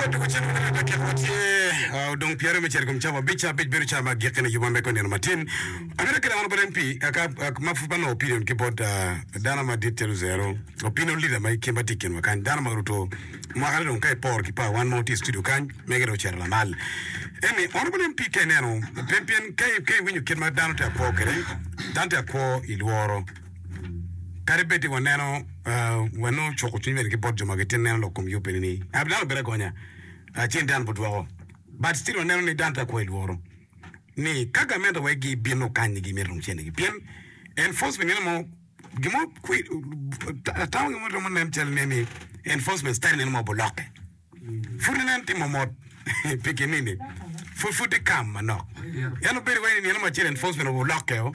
Pwod dwogo cen wunu dakika ma tye odong pyeraryo me cito i kom cawa abic, cawa abic bedo cawa me agikki ne yubwa me nino matin. Amito kelo an bot MP ka ma pud pe anongo opinion ki bot dano madit calo Zero, opinion leader ma ma tye i kinwa kany, dano ma oruto mwakane dong ka iporo ki pa wan ma watye i studio kany, mege dong ocito lamal. Eni honorable MP ka ineno pien pien ka iwinyo kit ma dano tye ka kwo kwede, dano tye ka kwo i lworo. Kadi bed ni waneno wanongo cuko cwiny bene ki bot jo ma gitye neno lok kom yub eni ni dano obedo agonya ci dano pe dwoko but still waneno ni dano tye ka kwo i lworo ni ka gamente wek gibino kany ni gimito dong cene gi pien enforcement nino mo gin mo atamo gin mo romo nen cal ni enforcement style nino mo obulokke pud inen timo mot pi kinini pud pud tye kam manok en obedo wai ni nino mo acel enforcement obulokke o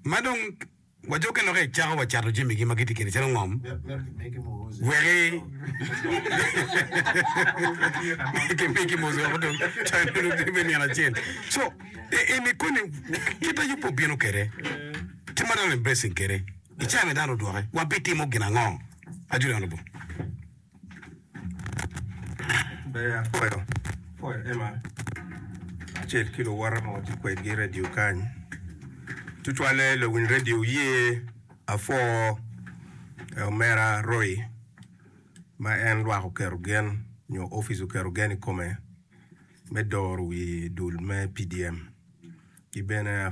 ma dong Wajukke noki icako wa cato jamigi ma gitye kwede calo ngom weki kimigi mos weko dong me nino acel. So eni koni kit ma Yubu obino kwede kit ma dano embracing kwede i cawa ma dano odwoke wabitimo gin ango? Ajoli Honourable. Ber apwoyo, apwoyo Emma kacel ki luwote ma watye kwedgi i redio kany. Tutwalle luwiny redio wuye apwo omera Roy ma en lwak oketo gen nyo opic oketo gen i kome me doro wi dul me PDM ki bene.